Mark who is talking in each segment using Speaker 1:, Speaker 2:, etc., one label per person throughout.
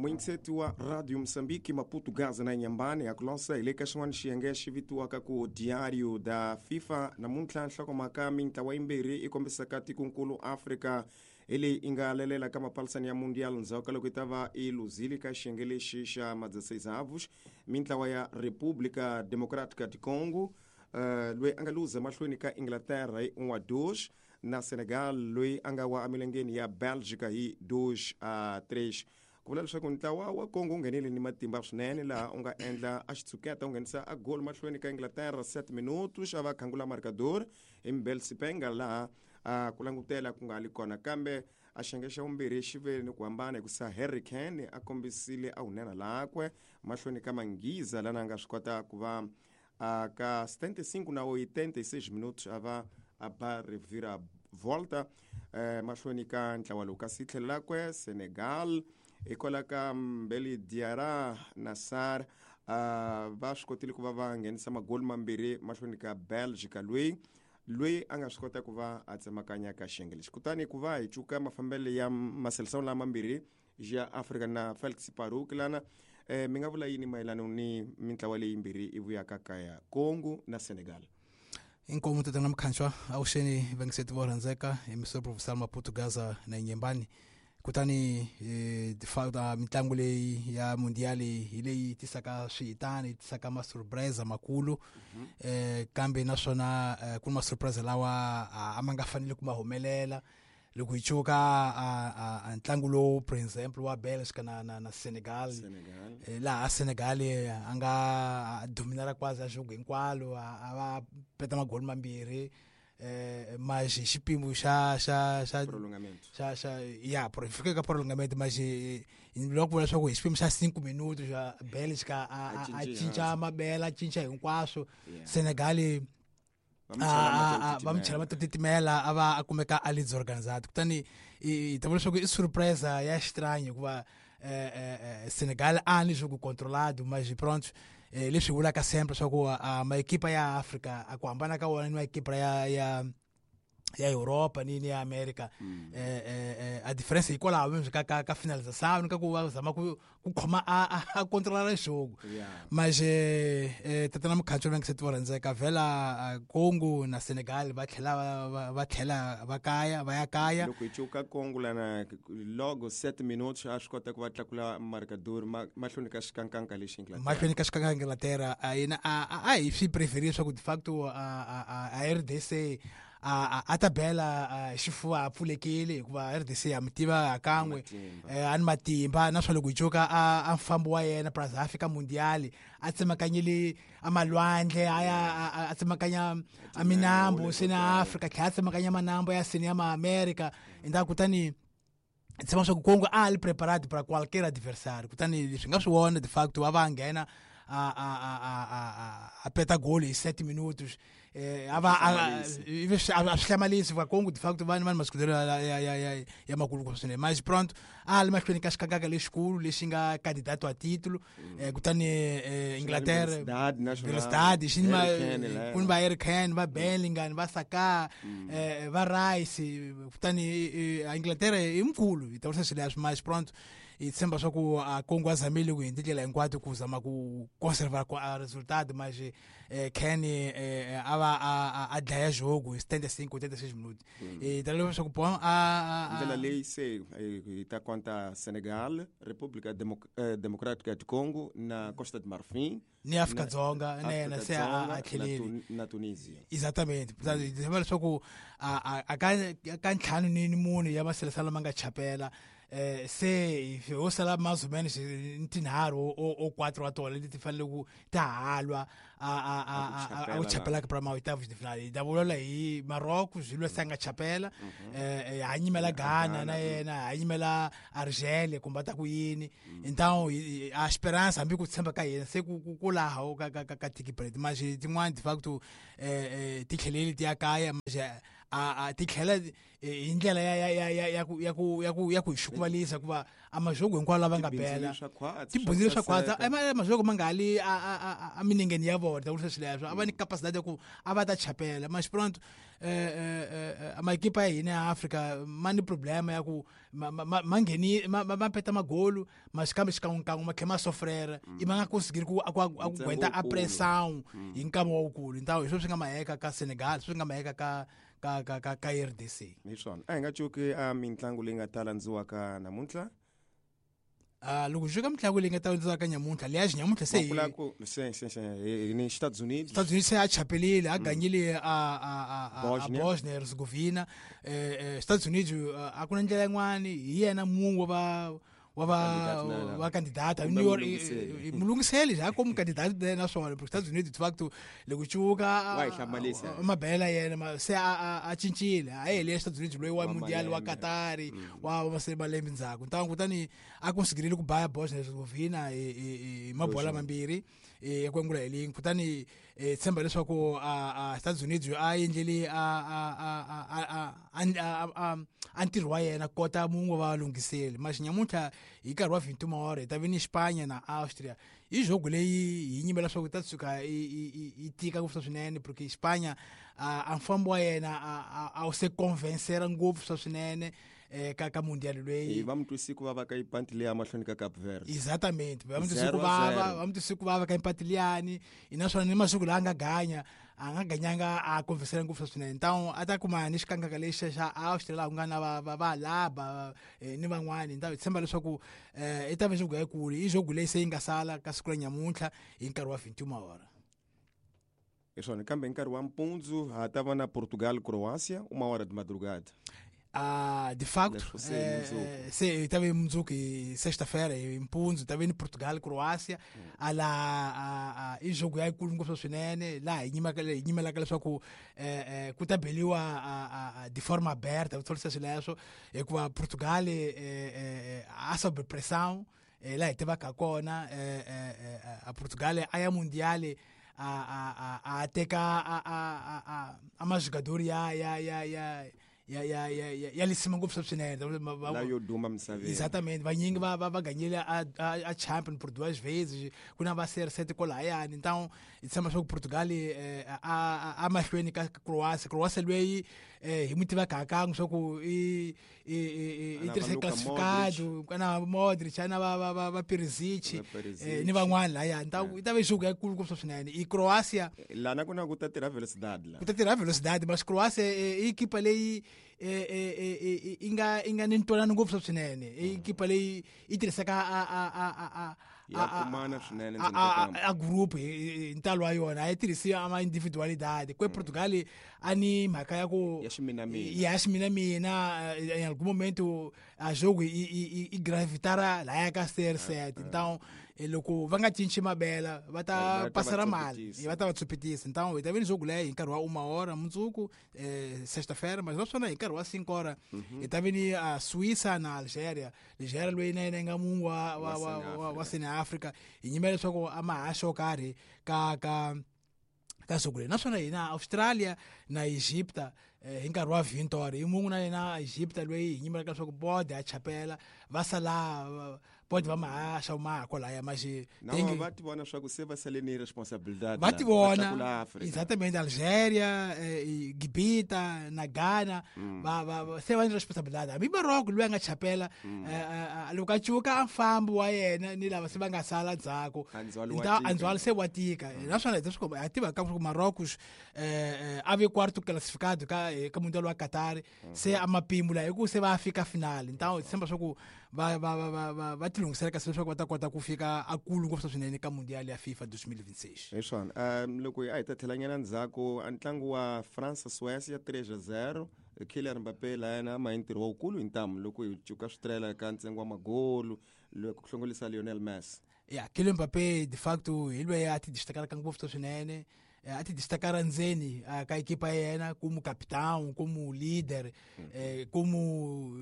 Speaker 1: Muyingiseti wa Radio Moçambique, Maputo, Gaza na Inhambane, a ku lonsa hi le ka xin'wana xiyenge xi vitiwaka ku Diário da FIFA. Namuntlha nhlokomhaka mintlawa yimbirhi yi kombisaka tikonkulu Afrika hi leyi yi nga lelela ka mapalisani ya Mundial ndzhaku ka loko yi ta va yi luzile ka xiyenge lexi xa ma-16avos. Mintlawa ya República Democrática de Congo, loyi a nga luza mahlweni ka Inglaterra hi 1-2, na Senegal loyi a nga wa emilengeni ya Belgica hi 2-3. Ku vula leswaku ntlawa wa Congo wu nghenile ni matimba swinene laha u nga endla a xitshuketa u nghenisa a goal mahlweni ka Inglaterra 7 minutos a va khangula marcador hi Mbel Sipenga laha a ku langutela ku nga li kona, kambe a xiyenge xa vumbirhi xi ve ni ku hambana hikusa Harry Kane a kombisile a wunena lakwe mahlweni ka Manghiza lana a nga swi kota ku va a ka 75 na 86 minutos a va a ba revira volta mahlweni ka ntlawa lowu. Kasi tlhelo lakwe Senegal hikwalaho ka Mbeli Diarra na Sarr va swi kotile ku va va nghenisa magoli mambirhi mahlweni ka Belgica loyi a nga swi kota ku va a tsemakanya ka xiyenge lexi. Kutani ku va hi cuka mafambelo ya maseleção lama mambirhi ya Afrika na Felix Paruk lana, mi nga vula yini mayelana ni mintlawa leyi yimbirhi yi vuyaka kaya, Congo na Senegal?
Speaker 2: Inkomu tatana Mkhanshwa, avuxeni vangiseti vo rhandzeka hi Mr Professor Maputo Gaza na Nyembani. Kutani mitlangu leyi ya mundiali hi leyi tisaka swihitani, yi tisaka ma-surprise makulu. Kambe naswona ku ni ma-surprise lawa a ma nga fanele ku ma humelela. Loko hi cuka a ntlangu lowu, for example, wa Belgica na Senegal, laha Senegal a nga dominara quase a jogo hinkwalo, a va peta magoli mambirhi, mas hi xipimo xa xa xa
Speaker 1: Prolongamento.
Speaker 2: Xa xa ya fika ka prolongamento, mas loko vula leswaku hi xipimo xa 5 minutos xa Belgica a cinca mabela, a cinca hinkwaswo. Senegal va mi chela va titimela, a va a kumeka a li disorganizado. Kutani hi ta vula leswaku i surprise ya xitranyo hikuva Senegal a ni jogo controlado, mas pronto, leswi vulaka sempre leswaku maekipa ya Africa a ku hambana ka wona ni maekipa ya Europa ni ya America, a difference hikwalaho mesmo ka finalização ni ka ku va zama ku khoma a controlar jogo. Mas tatana Mukhancho, va nge se tiva rhandzeka vhela Congo na Senegal va tlhela va tlhela va kaya va ya kaya.
Speaker 1: Loko hi cuka Congo lana, logo 7 minutos a swi kota ku va tlakula marcador mahlweni ka xikankanka lexi Inglaterra.
Speaker 2: Mahlweni ka xikankanka Inglaterra, a yena a hi swi preferile leswaku de facto a RDC a ta bela xifuva a pfulekile, hikuva RDC ya mi tiva hakan'we a ni matimba. Naswona loko hi cuka a mfambo wa yena plus a fika mundiali a tsemakanyile a malwandle, a ya a tsemakanya a minambu seni a Afrika, tlhela a tsemakanya manambu ya seni ya ma-Amerika endzhaku. Kutani tshemba swa ku Congo a li preparado para qualquer adversário. Kutani leswi nga swi vona de facto va nghena a peta goli hi 7 minutos, a va a swi hlamarisi va Congo de facto va ni masikudelo ya makulu swinene. Mas pronto, a li mahlweni ka xikakaka lexikulu lexi nga candidato a título. Kutani Inglaterra
Speaker 1: Velocidade
Speaker 2: xi ni ku ni va Harry Kane, va Bellingham, va Saka, va Rice. Kutani Inglaterra i mkhulu hi ta vurisa swilo leswi, mas pronto, hi tshemba swa ku a Congo a zamile ku hi tindlela hinkwato ku zama ku conservar a resultado, mas Kane a va a dlaya jogo hi 75 86 minutos. Hi ta leswaku bon a
Speaker 1: Ndlela leyi se hi ta konta Senegal, República Democrática de Congo na Costa de Marfim
Speaker 2: ni Afrika Dzonga na yena se a tlheleli
Speaker 1: na Tunisia.
Speaker 2: Exatamente, hi tshemba leswaku a ka ntlhanu ni mune ya maselesala lama nga chapela, se ho sala mais ou menos tinharhu o quatro wa tona leti ti fanele ku ta halwa a ku chapela para ma-oitavos de final. Hi ta vulavula hi Marocco swilo se a nga chapela, ha nyimela Ghana na yena, ha nyimela Argelia kumbe ta ku yini. Então a esperança hambi ku tshemba ka hina se ku laha ka tiki break, mas tin'wani de facto ti tlheleli ti ya kaya, mas a ti tlhela hi ndlela ya ku hi xukuvalisa, hikuva a majogo hinkwawo lava nga bela tibundzile swa khwatsa, majogo ma nga li a minengeni ya vona. Ta vurisa swileswo, a va ni capacidade ya ku a va ta chapela, mas pronto, maekipa ya hina ya Afrika ma ni problema ya ku ma ngheni, ma peta magolu, mas kambe xikan'wekan'we ma tlhela ma sofrera, i ma nga konsigiri ku gwenta a pressão hi nkama wawukulu. Ntawo hi swo swi nga maheka ka Senegal, swi nga maheka ka RDC.
Speaker 1: Hi swona, a hi nga cuki a mitlangu leyi nga ta landziwaka namuntlha.
Speaker 2: Loko swi ka mitlangu leyi nga ta landziwaka nyamuntlha, leya nyamuntlha se
Speaker 1: ni Estados Unidos.
Speaker 2: Estados Unidos se a chapelile, a ganyile a Bosnia Herzegovina. Estados Unidos a ku na ndlela yin'wani, hi yena mun'we wa va candidata mulungiseli ja como candidato naswona, porque Estados Unidos de facto loko cuka mabela yena se a cincile, a hele Estados Unidos loyi wa Mundial wa Qatar wa malembe ndzhaku. Ntango kutani a konsigirile ku baya Bosnia Herzegovina hi mabola mambirhi ya ku angula hi lingi. Kutani tshemba leswaku a Estados Unidos a endleli a ntirho wa yena kota mun'we va lunghiseli. Mas nyamuntlha hi nkarhi wa 21 hora hi ta vi ni Spanya na Austria. I jogo leyi hi nyimela leswaku ta tshuka yi tika ngopfu swinene, porque Spanya a mfambo wa yena a wu se convencera ngopfu swa swinene ka Mundial loyi.
Speaker 1: Va mu twisi ku vava ka ipanti leyi amahlweni ka Cape Verde.
Speaker 2: Exatamente, va mu twisi ku vava, va mu twisi ku vava ka ipati liyani, naswona ni masiku laha a nga ganya, a nga ganyanga a convencera ngopfu swinene. Então a ta kuma ni xikangaka lexi xa Austria, laha ku nga na va Laba ni van'wani. Nta hi tshemba leswaku i ta va jogo yikulu, i jogo leyi se yi nga sala ka siku ra nyamuntlha hi nkarhi wa 21 hora.
Speaker 1: Hi swona, kambe hi nkarhi wa mpundzu ha ta va na Portugal Croácia, 1 hora de madrugada.
Speaker 2: Ah, de facto, se estava em mundzuku, sexta-feira, em mpundzu, estava em Portugal, Croácia, a la a i jogo ya yikulu ngopfu swinene, laha hi nyimelaka leswaku ku ta beliwa de forma aberta, ku tholisa swileswo, hikuva Portugal a sob pressão, laha hi tivaka kona a Portugal a ya Mundial a teka a majogador ya lisima ngopfu swinene.
Speaker 1: Yo duma misaveni.
Speaker 2: Exatamente, vanyingi va ganyile a champion por duas vezes, ku na va CR7 kwalahayani. Então hi tshemba swa ku Portugal a mahlweni ka Croácia. Croácia loyi hi mu tivaka hakan'we swa ku i tirhise classificado na Modric, na va Perisic ni van'wani lahaya. Então i ta va jogo yikulu ngopfu swinene i Croácia.
Speaker 1: Lana ku na ku ta tirha velocidade la.
Speaker 2: Ku ta tirha velocidade, mas Croácia i equipa leyi i nga ni ntwanano ngopfu swinene, i equipa leyi yi tirhisaka a
Speaker 1: Ya kumana swinene.
Speaker 2: A group hi ntalo wa yona, a yi tirhisi ama individualidade. Kwe Portugal a ni mhaka ya ku
Speaker 1: ya ximinamina.
Speaker 2: Ya ximinamina, em algum momento a jogo i gravitara laya ka CR7. Então loko va nga cinci mabela, va ta pasela mali, va ta va tsupitisa. Então hi ta vi ni jogo leyi hi nkarhi wa 1 hora mundzuku, sexta-feira, mas naswona hi nkarhi wa 5 hora hi ta vi ni Suíça na Algeria. Algeria loyi na yena yi nga mun'we wa Sene Africa, hi nyimela leswaku a mahaxa yo karhi ka siku leri. Naswona hina Australia na Egypta hi nkarhi wa 20 hora, hi mun'we na yena Egypta loyi hi nyimelaka leswaku bode a chapela, va sala bode va mahaxa maha kwalaya maxi.
Speaker 1: Va ti vona swa ku se va sale ni responsabilidade.
Speaker 2: Va ti vona, exatamente. Algeria, Gibita na Ghana va se va ni responsabilidade, hambi Morocco loyi a nga chapela loko a cuka a mfambo wa yena ni lava se va nga sala ndzhaku, andzwalo se wa tika. Naswona hi tiva ka ku Marrocos a ve quarto classificado ka Mundial wa Qatar, se a mapimbu la hi ku se va fika final. Então hi tshemba swa ku va ti lunghisela kasi leswaku va ta kota ku fika a kulu ngopfu swinene ka Mundial ya FIFA 2026.
Speaker 1: Hi swona, loko a hi ta tlhelanyana ndzhaku a ntlangu wa France Suécia 3-0, Kylian Mbappé la yena a ma hi ntirho wukulu hi ntamu loko hi cuka switirela ka ntsengo wa magolu loko ku hlongolisa Lionel Messi.
Speaker 2: Ya, Kylian Mbappé de facto hi loyi a ti destacaraka ngopfu swinene, a ti destacara ndzeni ka ekipa ya yena como capitão, como líder, como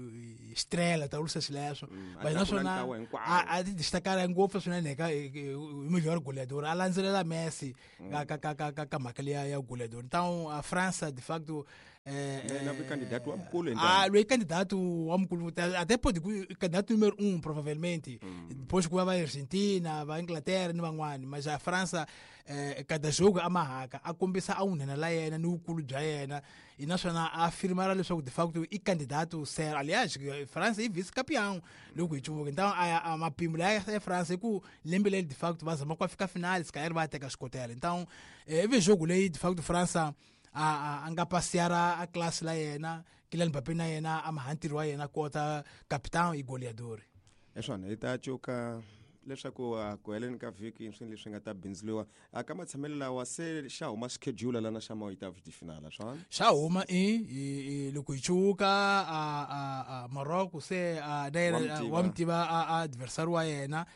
Speaker 2: estrela, ta vurisa xileswo. Mas naswona a ti destacara ngopfu swinene ka hi melhor goleador, a landzelela Messi ka mhaka liya ya goleador. Então a França de facto
Speaker 1: Na candidato wa mukulu.
Speaker 2: Ah, loyi candidato wa mukulu, até pode candidato número 1 provavelmente. Depois ku va Argentina, va Inglaterra ni van'wani, mas a França cada jogo a mahaka a kombisa a wunhena la yena ni vukulu bya yena, e naswona a afirmara leswaku de facto i candidato sério. Aliás, França i vice campeão loko hi cuvuka. Então a mapimbo laya ya França i ku lembe leri de facto va zama ku fika finale, se calhar va teka xikotela. Então ivi jogo leyi de facto França a nga pasiara a classe la yena, Kylian Mbappé na yena a maha ntirho wa yena kota capitão i goleador.
Speaker 1: Eswona hi ta cuka leswaku ku heleni ka vhiki swilo leswi nga ta bindzuriwa ka matshamelo lawa, se xa huma schedule lana xa maoitavos de finale swona?
Speaker 2: Xa huma i loko hi cuka a Morocco se a na yena wa mi tiva a adversary wa yena,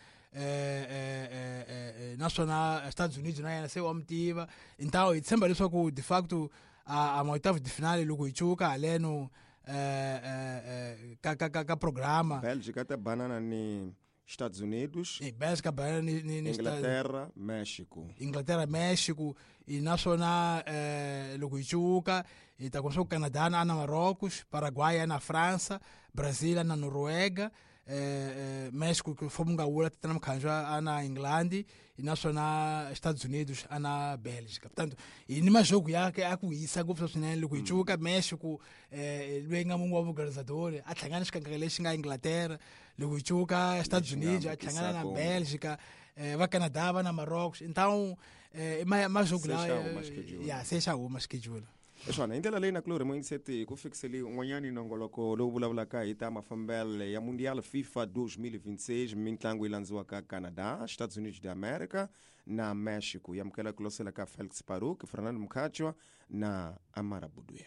Speaker 2: naswona Estados Unidos na yena se wa mi tiva. Então hi tshemba leswaku de facto a maoitavos de finale loko hi cuka haleno ka programa.
Speaker 1: Belgica ta banana ni Estados Unidos.
Speaker 2: E Bélgica banana ni
Speaker 1: Inglaterra, México.
Speaker 2: Inglaterra, México. E naswona loko hi cuka hi ta kuma swa ku Canada na Marrocos, Paraguay na França, Brazil na Noruega, México que fomos nga wula tatana Mukhanjwa a na England, e naswona Estados Unidos a na Bélgica. Portanto, hi ni majogo ya a ku hisa ngopfu swinene loko hi cuka. México loyi nga mun'we wa vuorganizador a hlangana xikangaka lexi nga Inglaterra. Loko hi cuka Estados Unidos a hlangana na Bélgica, va Canada va na Marrocos. Então majogo lawa ya se xa huma schedule.
Speaker 1: Swona hi ndlela leyi nakulorhi moyingiseti ku fikiseli un'wanyani nongoloko lowu vulavulaka hi ta mafambelo ya Mundial FIFA 2026, mitlangu yi landziwaka Canada, Estados Unidos de America na Mexico. Yamukela ku losela ka Felix Paruk, Fernando Mkhachwa na Amara Buduya.